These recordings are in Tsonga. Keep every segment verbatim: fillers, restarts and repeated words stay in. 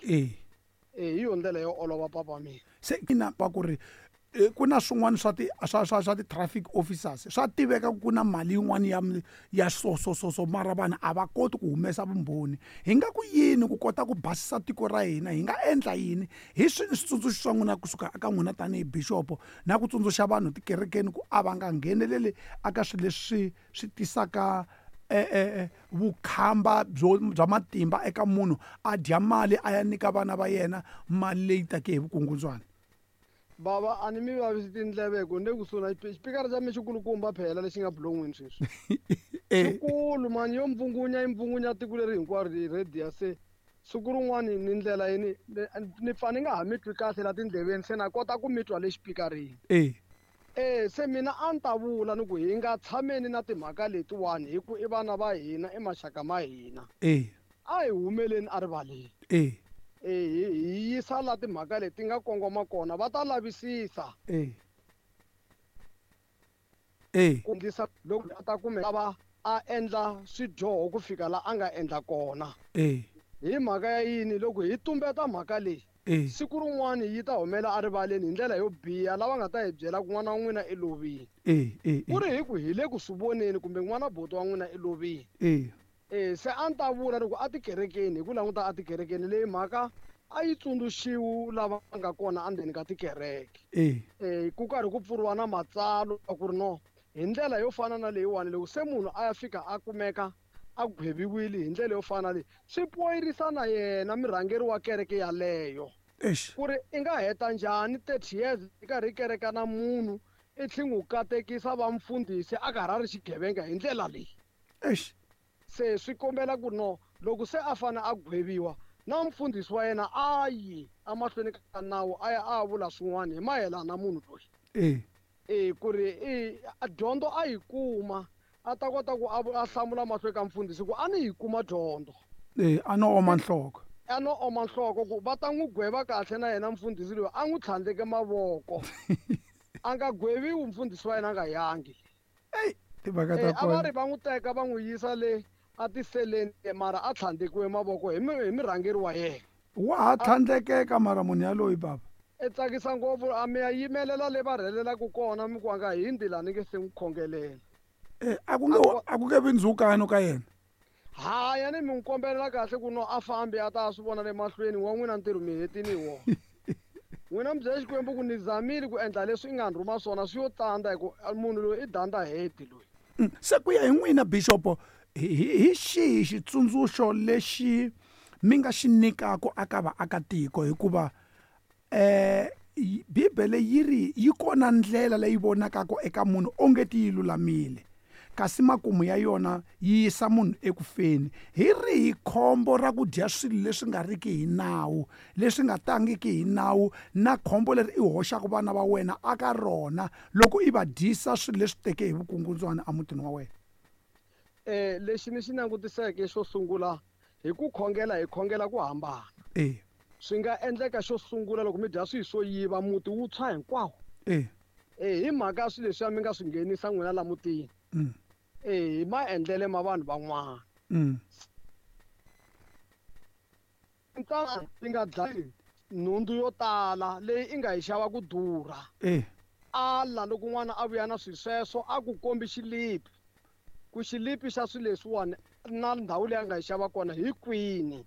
E E hi yo ndlela yo olova papa mina. Se ina va ku ri ku na swin'wana swa ti swa swa swa ti-traffic officers swa tiveka ku na mali yin'wana ya ya so so so so mara vanhu a va koti ku humesa vumbhoni. Hi nga ku yini ku kota ku basisa tiko ra hina, hi nga endla yini hi swini switsundzuxo swa n'wina kusuka eka n'wina tanihi bishop na ku tsundzuxa vanhu tikerekeni ku a va nga ngheneleli aka swilo leswi swi tisaka vukhamba byo bya matimba eka munhu a dya mali a ya nyika vana va yena mali leyi take hi vukungundzwana. Bava a ni mi vavisi tindleve hi ku ni le kusuhi na xipikara xa mina xikulukumba phela lexi nga bulon'wini sweswi. Xikulu mani yo mbvungunya yi mbvungunya tiko leri hinkwaro hi radio se siku rin'wani ni ndlela yini ni pfa ni nga ha mi twi kahle la tindleveni se na kota ku mi twa le xipikarini. E E se mina a ni ta vula ni ku hi nga tshameni na timhaka letiwani hi ku i vana va hina i maxaka ma hina. E A hi humeleni a rivaleni. E E hi yisa la timhaka leti nga kongoma kona va ta lavisisa. E E ku endlisa loko a ta kumeka va a endla swidyoho ku fika la a nga endla kona. E Hi mhaka ya yini loko hi tumbeta mhaka leyi E siku rin'wani yi ta humela erivaleni hi ndlela yo biha lava nga ta hi byela ku n'wana wa n'wina i lovile. E E Ku ri hi ku hi le ku swi voneni kumbe n'wana buti wa n'wina i lovile. E E se a ni ta vula loko a tikerekeni hi ku languta a tikerekeni leyi mhaka a yi tsundzuxiwi lava nga kona endzeni ka tikereke. E E ku karhi ku pfuriwa na matsalwa ku ri no hi ndlela yo fana na leyiwani loko se munhu a ya fika a kumeka a gweviwile hi ndlela yo fana na leyi swi poyirisa na yena murhangeri wa kereke yaleyo. Eish. Ku ri i nga heta njhani thirty years i karhi i kereka na munhu i tlhe n'wi katekisa va mfundhisi a karhi a ri xigevenga hi ndlela leyi. Eish. Se swi kombela ku no loko se a fane a gweviwa na mfundhisi wa yena a yi emahlweni ka nawu a ya a vula swin'wana hi mayelana na munhu loyi. E E ku ri i dyondzo a yi kuma a ta kota ku a a hlamula mahlweni ka mfundhisi ku a ni yi kuma dyondzo. E a no oma nhloko. A no oma nhloko ku va ta n'wi gweva kahle na yena mfundhisi loyi a n'wi tlhandleke mavoko. A nga gweviwi mfundhisi wa yena a nga yangi. Ey timhaka ta A va ri va n'wi teka va n'wi yisa le a tiseleni mara a tlhandlekiwe mavoko hi mi hi murhangeri wa yena. Wa ha tlhandlekeka mara munhu yaloyi baba. E tsakisa ngopfu a mi ya yimelela le va rhelelaka kona mi ku a nga hundzi la ni nge se n'wi khongelela. E a ku nge a ku nge vi ndzhukano ka yena. Haya ni mi n'wi kombelela kahle ku no a fambi a ta swi vona le mahlweni wa n'wina ntirho mi hetini hi wona. N'wina mi byela Xikwembu ku ni zamile ku endla leswi i nga ni rhuma swona swi yo tsandza hi ku munhu loyi i danda head loyi. Se ku ya hi n'wina bishop hi hi xihi xitsundzuxo lexi mi nga xi nyikaka aka vaakatiko hikuva eh Bibele yi ri yi kona ndlela leyi vonakaka eka munhu onge ti yi lulamile kasi makumu ya yona yi yisa munhu ekufeni. Hi rihi khombo ra ku dya swilo leswi nga riki hi nawu leswi nga tangiki hi nawu na khombo leri i hoxaka vana va wena aka rona loko i va dyisa swilo leswi teke hi vukungundzwana emutini wa wena? Eh lexi ni xi langutiseke xo sungula hi ku khongela hi khongela ku hambana. E Swi nga endleka xo sungula loko mi dya swilo swo yiva muti wu tshwa hinkwawo. E E hi mhaka ya swilo leswiya mi nga swi nghenisa n'wina la mutini. Mm. E hi maendlele ma vanhu van'wana. Mm. Ntanga yi nga dlayi nhundzu yo tala leyi i nga yi xava ku durha. E Ala loko n'wana a vuya na swilo sweswo a ku kombi xilipi. Ku xilipi xa swilo leswiwani na ndhawu leyi a nga yi xava kona hi kwini.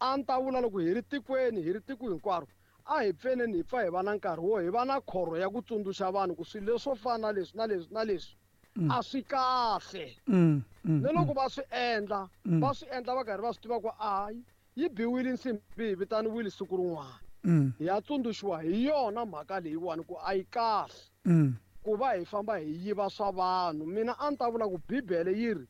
A ni ta vula loko hi ri tikweni hi ri tiko hinkwaro a hi pfeneni hi pfa hi va na nkarhi wo hi va na khorho ya ku tsundzuxa vanhu ku swilo leswo fana na leswi na leswi na leswi a swi kahle. Mm, mm, Ni loko va swi endla Mm. va swi endla va karhi va swi tiva ku hayi yi biwile nsimbi yi vitaniwile siku rin'wana. mm, Hi ya tsundzuxiwa hi yona mhaka leyiwani ku a yi kahle mm. ku va hi famba hi yiva swa vanhu. Mina a ni ta vula ku Bibele yi ri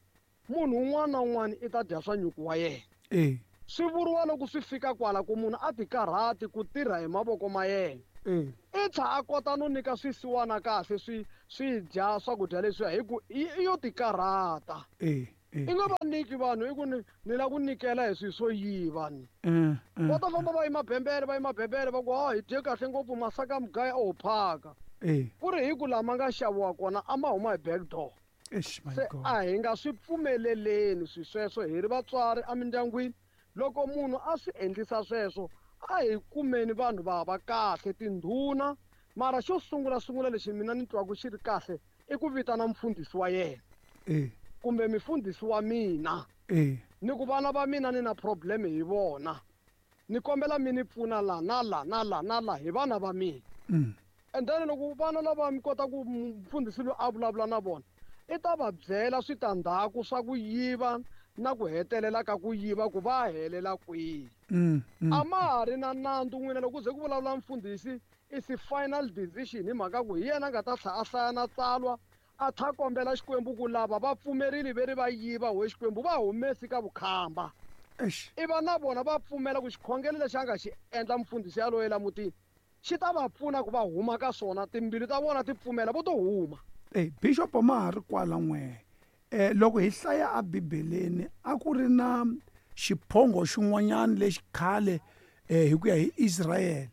munhu un'wana na un'wana i ta dya swa nyuku wa yena. E Swi vuriwa loko swi fika kwala ku munhu a ti karhati ku tirha hi mavoko ma yena. E I tlha a kota no nyika swisiwana kahle swi swi dya swakudya leswiya hi ku i i yo ti karhata. E E I nga va nyiki vanhu i ku ni ni lava ku nyikela hi swilo swo yiva ni. Mm, mm. Va ta famba va yima bembele va yima bembele va ku ha hi dye kahle ngopfu masaka mugaya o phaka. E Ku ri hi ku lama nga xaviwa kona a ma huma hi back door. Eish my Se God. a hi nga swi pfumeleleni swilo sweswo hi ri vatswari emindyangwini Loko munhu a swi endlisa sweswo a hi kumeni vanhu va va kahle tindhuna mara xo sungula sungula lexi mina ni twaku xi ri kahle i ku vitana mfundhisi wa yena eh kumbe mifundhisi wa mina eh ni ku vana va mina ni na problem hi vona ni kombela mi ni pfuna la na la na la na la hi vana va mina mm. And then loko vana lava mi kota ku mfundhisi loyi a vulavula na vona i ta va byela switandzhaku swa ku yiva na ku hetelela ka ku yiva ku va helela kwihi mm, mm. A ma ha ri na nandzu n'wina loko ku ze ku vulavula mfundhisi is final decision hi mhaka ku hi yena a nga ta tlha a hlaya na tsalwa a tlha kombela Xikwembu ku lava va pfumerile ve ri va yiva we Xikwembu va humesi ka vukhamba Eish. I va na vona va pfumela ku xikhongelo lexi a nga xi endla mfundhisi yaloye la mutini xi ta va pfuna ku va huma ka swona timbilu ta vona ti pfumela vo to huma Eh bishop ma ha ri kwala n'we eh loko hi hlaya a Bibeleni a ku ri na xiphongo xin'wanyana lexi khale eh hi ku ya hi Israel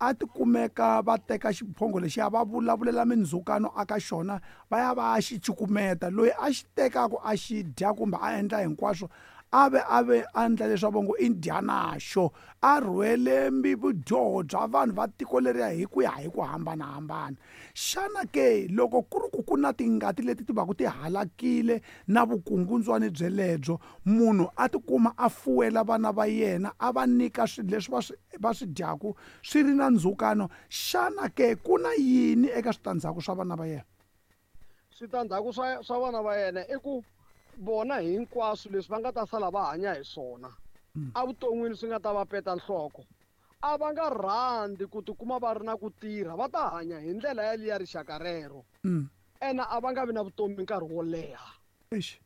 a ti kumeka va teka xiphongo lexiya va vulavulela mindzhukano aka xona va ya va xi cukumeta loyi a xi tekaku a xi dya kumbe a endla hinkwaswo a ve a ve a endla leswaku va ngo i dyanaxo a rhwele vudyoho bya vanhu va tiko leriya hi ku ya hi ku hambanahambana xana ke loko ku ri ku ku na tingati leti ti vaku ti halakile na vukungundzwani byelebyo munhu a tikuma a fuwela vana va yena a va nyika swilo leswi va swi va swi dyaku swi ri na ndzhukano xana ke ku na yini eka switandzhaku swa vana va yena switandzhaku swa swa vana va yena i ku vona hinkwaswo leswi va nga ta sala va hanya hi swona evuton'wini swi nga ta va peta nhloko a va nga rhandzi ku tikuma va ri na ku tirha va ta hanya hi ndlela yaliya rixaka rero mm. ene a va nga vi na vutomi nkarhi wo leha Eish.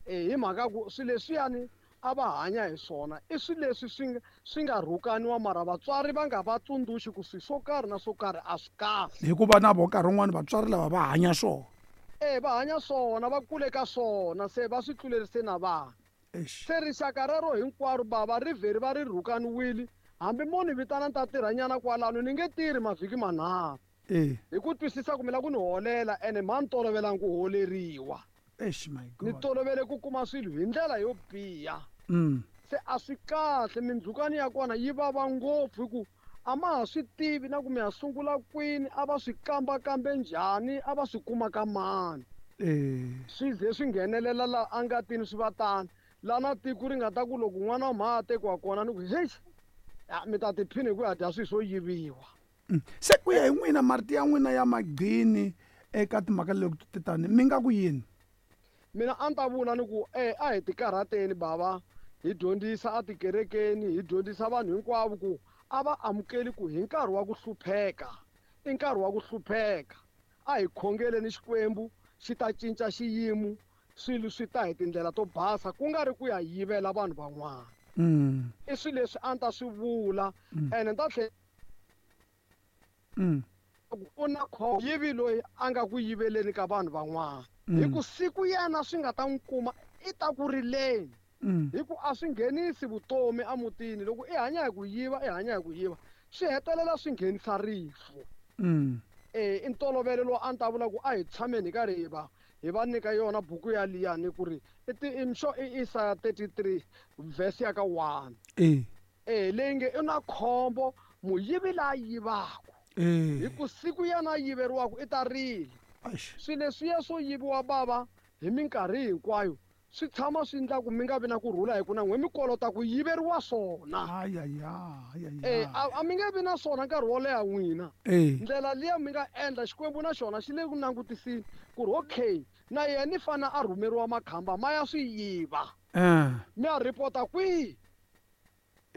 e hi mhaka ku swilo leswiyani a va hanya hi swona i swilo leswi swi nga swi nga rhukaniwa mara vatswari va nga va tsundzuxi ku swilo swo karhi na swo karhi a swi kahle hikuva na vo nkarhi wun'wani vatswari lava va hanya swona e va hanya swona va kule ka swona se va swi tlulerise na vana Eish. se rixaka rero hinkwaro bava ri vheri va ri rhukaniwile hambi mo ni vitana ni ta tirhanyana kwalano ni nge tirhi mavhiki manharhu eh hi ku twisisa ku mi lava ku ni holela ene mha ni tolovelangi ku holeriwa Eish my ni god tolovele ku kuma swilo hi ndlela yo biha mm. se a swi kahle mindzhukano ya kona yi vava ngopfu hi ku a ma ha swi tivi na ku mi ya sungula kwini a va swi kambakambe njhani a va swi kuma ka mani eh swi ze swi nghenelela la angatini swi va tani la na tiko ri nga ta ku loko n'wana wa mha a tekiwa kona ni ku heyi ya mi ta tiphina hi ku ya dya swilo swo yiviwa Mm. Se ku ya hi n'wina marito ya n'wina ya magqini eka timhaka leti ti tani mi nga ku yini mina a ni ta vula ni ku e a hi tikarhateni bava hi dyondzisa atikerekeni hi dyondzisa vanhu hinkwavo ku a va amukeli ku hi nkarhi wa ku hlupheka i nkarhi wa ku hlupheka a hi khongeleni Xikwembu xi ta cinca xiyimo swilo swi ta hi tindlela to basa ku nga ri ku ya yivela vanhu van'wana mm. i swilo leswi a ni ta swi vula ene ni ta tlhela mm. ku na khombo yivi loyi a nga ku yiveleni ka vanhu van'wana hi ku siku yena swi nga ta n'wi kuma i ta ku rileni Mm. hi ku a swi nghenisi vutomi emutini loko i hanya hi ku yiva i hanya hi ku yiva swi hetelela swi nghenisa rifu Mm. e i ntolovelo lowu a ni ta vula ku a hi tshameni hi karhi hi va hi va nyika yona buku ya liyani ku ri i ti i mxo i Isaya thirty-three verse ya ka one eh e leyi nge i na khombo muyivi la yivaku eh hi ku siku yena a yiveriwaku i ta rila Eish. swilo leswiya swo yiviwa bava hi minkarhi hinkwayo swi tshama swi endla ku mi nga vi na kurhula hi ku na n'we mi kolota ku yiveriwa swona Ay, ay, ay, ay, e ay. a a mi nge vi na swona nkarhi wo leha n'wina Eh. ndlela liya mi nga endla Xikwembu na xona xi le ku langutisini ku ri okay na yena i fane a rhumeriwa makhamba ma ya swi yiva Eh. mi ya ripota kwihi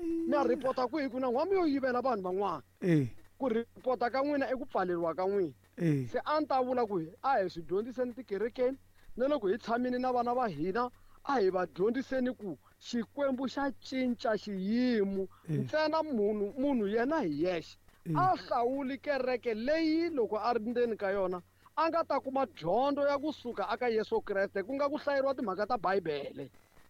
mi ya ripota kwihi ku na n'wa mi yo yivela vanhu van'wana Eh. ku ripota ka n'wina i ku pfaleriwa ka n'wina Eh. se a ni ta vula ku a hi swi dyondziseni tikerekeni na loko hi tshamile na vana va hina a hi va dyondziseni ku Xikwembu xa cinca xiyimo Eh. ntsena munhu munhu yena hi yexe Eh. a hlawuli kereke leyi loko a ri ndzeni ka yona a nga ta kuma dyondzo ya kusuka aka Yesu Kreste ku nga ku hlayeriwa timhaka ta Bibele.